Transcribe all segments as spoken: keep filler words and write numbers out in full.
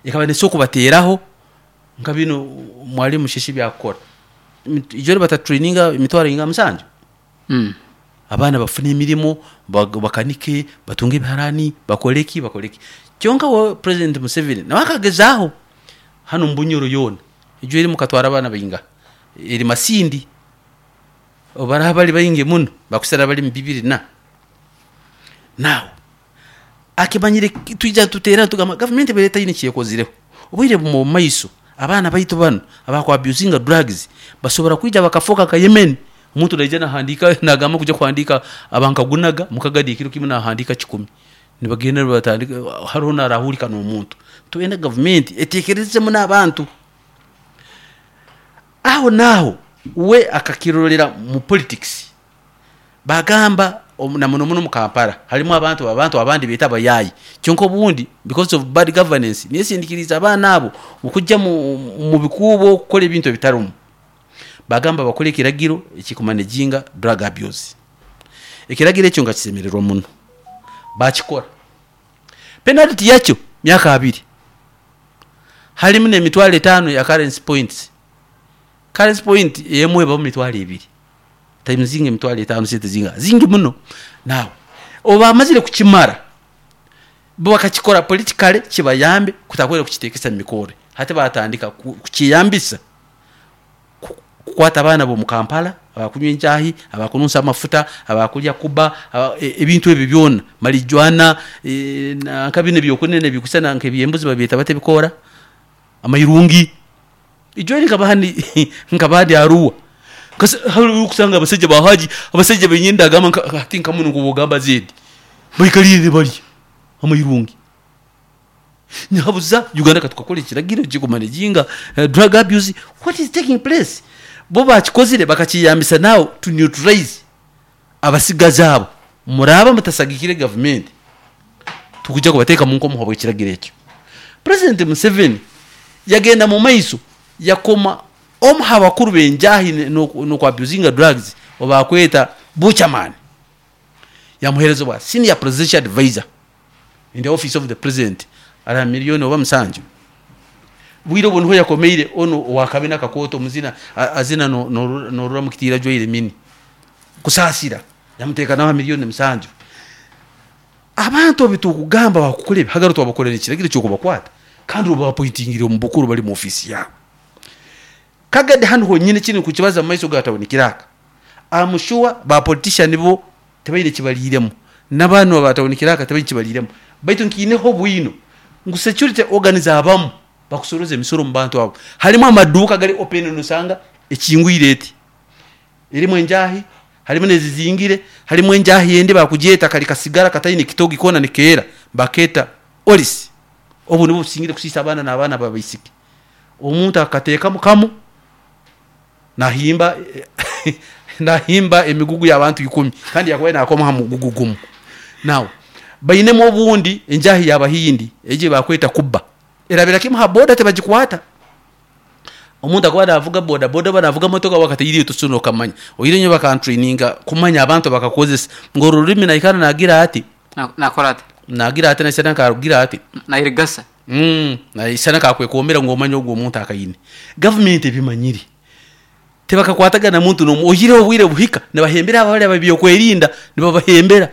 Ekaba nesobola kubateeraho nka binu Mwalimu Musheshi byakukora. Ijo batatraininga emitwaro inga musanju. Mm. Abaana bafune emirimo, bag- bakanike, batunge ebiharani, bakore ki, bakore ki. Kyonka we President Museveni nawe akagezaaho hanu Mbunyoro yoona. Ijo eri mukatwara abaana bainga eri Masindi baraha bari baingi muno bakusara bari mu bibiri na now akimanyire twija tuteera tugamba gavumenti ebaire etaine ekyekozireho. Obwire bumwe omu maiso abaana baitu banu abakwabusinga drugs basobora kwija bakafoka nka Yemen. Omuntu naija nahandiika, nagamba kuja kuhandiika abankagunaga mukagadi ekiro kimu nahandiika kikumi, nibagenda nibatandika hariho narahurika n'omuntu. Twenda gavumenti eteekerezemu n'abantu aho naaho. We akakirorera mu politics, bagamba omu- na muno muno mu Kampala harimu abantu abantu abandi beeta abayaayi. Kyonka obundi because of bad governance niyo esindikiriize abaana abo okujja mu, mu bikuubo okukora ebintu ebitarimu. Bagamba bakore ekiragiro ekikumanaginga drug abuse. Ekiragiro ekyo nga kisemererwa muno, bakikora. Penalty yakyo myaka abiri, harimu n'emitwaro etaano ya currency points. Currency point emwe ebamu mitwaro ebiri, times emitwaro etaano, sente zinga zingi muno. Nawe obu bamazire kukimara, bo bakakikora politically kibayambe kutakwera kukitekesa mu mikore. Hati batandika ku- kukiyambisa ku- kukwata abaana b'omu Kampala abakunywa enjahi, abakununsa amafuta, abakulya kuba aba- e- ebintu ebyo byona, marijuana, e, na- nka bino ebyokunene ebikusana nk'ebyembuzi babyeta bata ebikoora amairungi. Ijo nkaba handi nkaba ndi Arua. Kasi hariho okusanga abasajja ba haji, abasajja benyini ndagamba nka hati nka muno nk'obugamba zedi baikalire balya amairungi. Nyabuza Uganda katukakora ekiragiro kikumanaginga uh, drug abuse, what is taking place? Bo bakikozire bakakiyambisa now to neutralize abasigazi abo. Muraba mutasagikire gavumenti, tukujja kubateeka mu nkomo habw'ekiragiro ekyo. President Museveni yagenda mu maiso yakoma omu ha bakuru b'enjahi n'okwabusinga drugs obakweta Buchaman, yamuheereza bwa senior presidential advisor in the office of the president, ara miliyoni oba musanju. Bwire obwo niho yakomeire ono owakabina akakooto omuzina a- azina no- norura norura mukitiira ajwaire mini kusaasira, yamuteeka naho miliyoni musanju. Abantu obu tukugamba bakukora ebihagaro, twabakorera ekiragiro ky'okubakwata kandi obu bapointingire omu bukuru bari mu ofiisi yawe. Kagadi hanu honyine kini kukibaza mu maiso ga town clerk, I'm sure ba politician bo tebaine kibariiremu, n'abaana ba town clerk tebaine kibariiremu, baitu nkiineho bwino ngu security organs abamu bakusoroza emisoro mu bantu abo. Harimu amaduuka gari open, nosanga ekingwire eti erimu enjahi, harimu nezizingire, harimu enjahi endi bakugyeta kari kasigara kataine kitogi koona nikeera, bakeeta olisi. Obu nibwo busingire kusiisa abaana n'abaana babaisiki. Omuntu akateekamu kamu nahimba nahimba emigugu y'abantu ikumi kandi yakubaire nakoma ha mugugu gumu. Now bainemu obundi enjahi y'abahindi egi bakweta kuba, erabira kimu ha boda tebagikwata. Omuntu akuba navuga boda boda oba navuga motoka wakataire tosobola nokamanya. Oire nyowe bakantraininga kumanya abantu bakakozesa ngu oru rurimi naikara nagira ati. Na- nakora ati. Nagira ati naisana nkarugira ati. Nairigasa. Mm, naisana kakwekombera ngu omanye ogu omuntu akaine. Gavumenti ebimanyire, tebakakwatagana muntu n'omu oihireho obwire buhika nibahembera abo abari ab'ebyokwerinda, nibabahembera.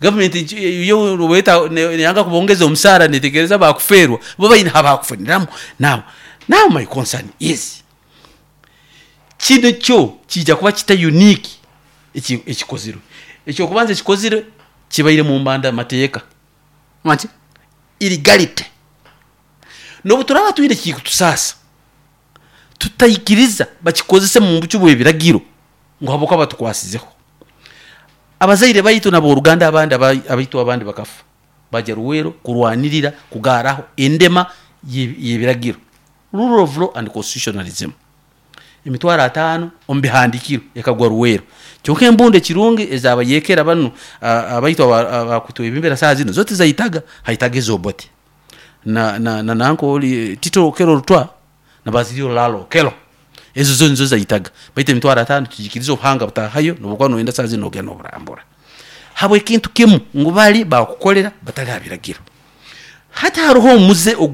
Gavumenti nki- yo weta neyanga kubongeza omusaara, netegereza bakufeerwa bo baine habakufuniramu. now now my concern is kino kyo kiija kuba kita unique eki ekikozirwe. Ekyokubanza ekikozirwe kibaire mu mbanda mateeka. Maki. Illegality. N'obu turaba twine ekikutusaasa, tutaikiriza bakikozese mu bucu bw'ebiragiro ngu habwokuba batukwasizeho. Abazaire baitu n'aboruganda abandi aba- abaitu abandi bakafa bajya Ruweero kurwanirira kugaaraho endema ye- y'ebiragiro, rule of law and constitutionalism. Emitwaro ataano omu bihandikiro ekagwa Ruweero. Kyonka embundu ekirungi ezabayekera banu a- abaitu abakutwebembera saaha zino zo tizaitaga, haitaga ezobote na na na nanko oli Tito Okello Lutwa na Bazilio Lalo Okello, ezo zo nizo zaitaga. Baitu emitwaro ataano tugikirize obuhanga butahayo nobukuba noyenda saaha zino nogenda noburambura habw'ekintu kimu ngu bali bakukolera batali ha biragiro. Hati haroho omuze.